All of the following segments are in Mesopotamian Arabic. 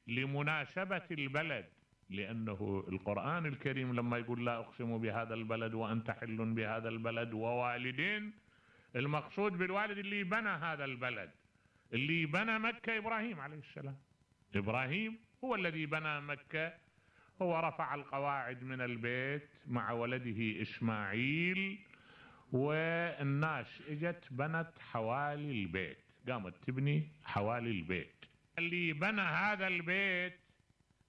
لمناسبة البلد، لأنه القرآن الكريم لما يقول لا أقسم بهذا البلد وأنت حل بهذا البلد ووالدين، المقصود بالوالد اللي بنى هذا البلد، اللي بنى مكة إبراهيم عليه السلام. إبراهيم هو الذي بنى مكة، هو رفع القواعد من البيت مع ولده إسماعيل، والناس اجت بنت حوالي البيت، قامت تبني حوالي البيت. اللي بنى هذا البيت،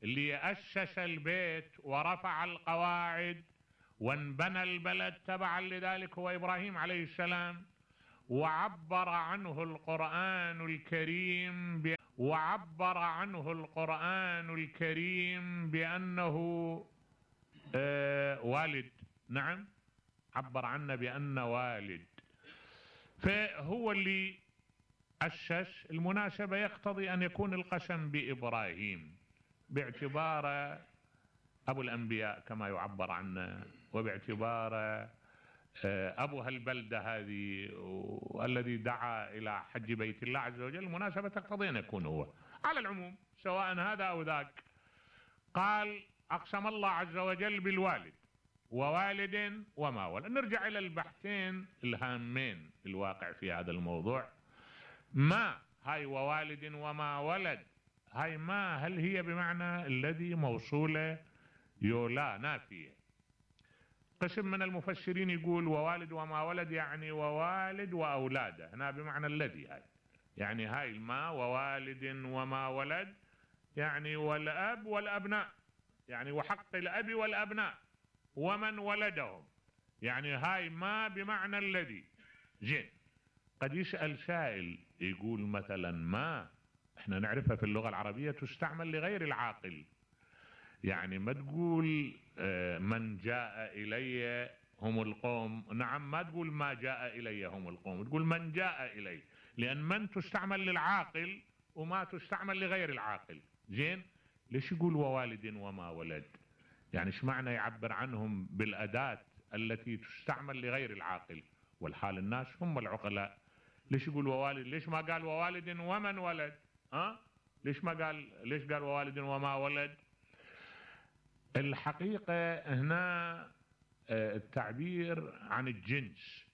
اللي أسس البيت ورفع القواعد وانبنى البلد تبعا لذلك هو إبراهيم عليه السلام. وعبر عنه القرآن الكريم بأنه والد. نعم، عبر عنه بأنه والد، فهو اللي أسس. المناسبة يقتضي أن يكون القسم بإبراهيم باعتباره أبو الأنبياء كما يعبر عنه، وباعتباره أبو هالبلدة هذه والذي دعا إلى حج بيت الله عز وجل. المناسبة تقتضي أن يكون هو. على العموم سواء هذا أو ذاك، قال أقسم الله عز وجل بالوالد ووالد وما ولد. نرجع إلى البحثين الهامين الواقع في هذا الموضوع. ما هاي ووالد وما ولد، هاي ما هل هي بمعنى الذي موصولة يولا نافية؟ قسم من المفسرين يقول ووالد وما ولد يعني ووالد وأولاده، هنا بمعنى الذي، هاي يعني هاي ما ووالد وما ولد يعني والأب والأبناء، يعني وحق الأب والأبناء ومن ولدهم، يعني هاي ما بمعنى الذي. زين، قد يسأل سائل يقول مثلا ما احنا نعرفها في اللغة العربية تستعمل لغير العاقل، يعني ما تقول من جاء إلي هم القوم، نعم، ما تقول ما جاء إلي هم القوم، تقول من جاء إلي، لأن من تستعمل للعاقل وما تستعمل لغير العاقل. زين، ليش يقول ووالد وما ولد؟ يعني ايش معنى يعبر عنهم بالأداة التي تستعمل لغير العاقل، والحال الناس هم العقلاء. ليش يقول ووالد؟ ليش ما قال ووالد ومن ولد؟ ليش قال ووالد وما ولد؟ الحقيقة هنا التعبير عن الجنس،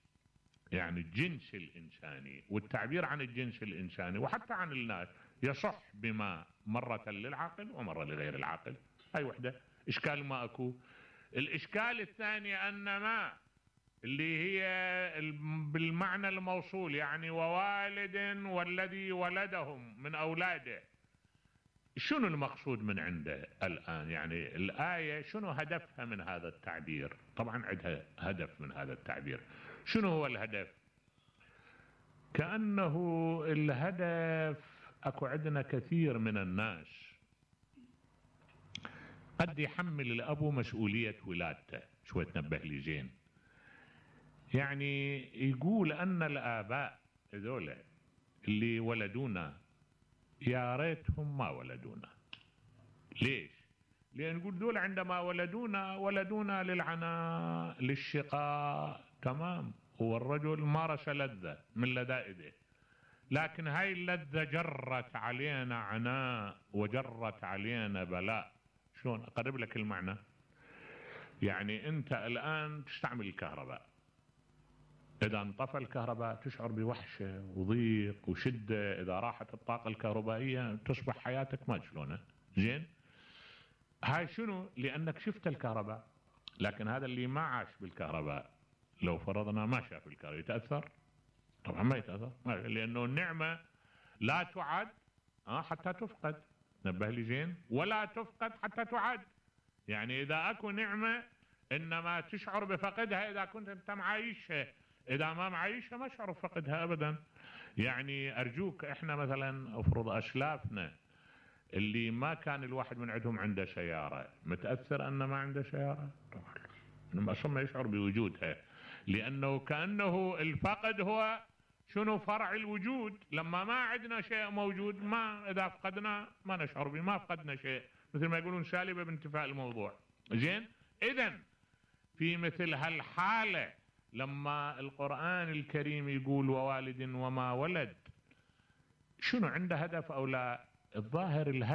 يعني الجنس الإنساني، والتعبير عن الجنس الإنساني وحتى عن الناس يصح بما مرة للعاقل ومرة لغير العاقل. هاي وحدة إشكال ما أكو. الإشكال الثاني أن ما اللي هي بالمعنى الموصول، يعني ووالد والذي ولدهم من أولاده، شنو المقصود من عنده الآن؟ يعني الآية شنو هدفها من هذا التعبير؟ طبعا عندها هدف من هذا التعبير. شنو هو الهدف؟ كأنه الهدف، أكو عندنا كثير من الناس قد يحمل الأب مسؤولية ولادته. شوي تنبه لي زين، يعني يقول أن الآباء هذول اللي ولدونا يا ريتهم ما ولدونا. ليش؟ لأن نقول دول عندما ولدونا للعناء للشقاء، تمام، هو الرجل مارس لذة من لذائذه، لكن هاي اللذة جرت علينا عناء وجرت علينا بلاء. شلون أقرب لك المعنى؟ يعني أنت الآن تستعمل الكهرباء، إذا انطفى الكهرباء تشعر بوحشة وضيق وشدة، إذا راحت الطاقة الكهربائية تصبح حياتك ما شلونها. زين، هاي شنو؟ لأنك شفت الكهرباء. لكن هذا اللي ما عاش بالكهرباء لو فرضنا ما شاف الكهرباء يتأثر؟ طبعا ما يتأثر، لأنه النعمة لا تعد حتى تفقد. نبه لي زين، ولا تفقد حتى تعد. يعني إذا أكو نعمة إنما تشعر بفقدها إذا كنت أنت معايشها، إذا ما معايشها ما شعر بفقدها أبدا. يعني أرجوك، إحنا مثلا أفرض أسلافنا اللي ما كان الواحد من عندهم عنده سيارة، متأثر أن ما عنده سيارة؟ طبعا أصلا ما يشعر بوجودها، لأنه كأنه الفقد هو شنو؟ فرع الوجود. لما ما عندنا شيء موجود، ما إذا فقدنا ما نشعر به، ما فقدنا شيء، مثل ما يقولون سالبة بانتفاء الموضوع. زين، إذن في مثل هالحالة لما القرآن الكريم يقول ووالد وما ولد، شنو عنده هدف أو لا؟ الظاهر الهدف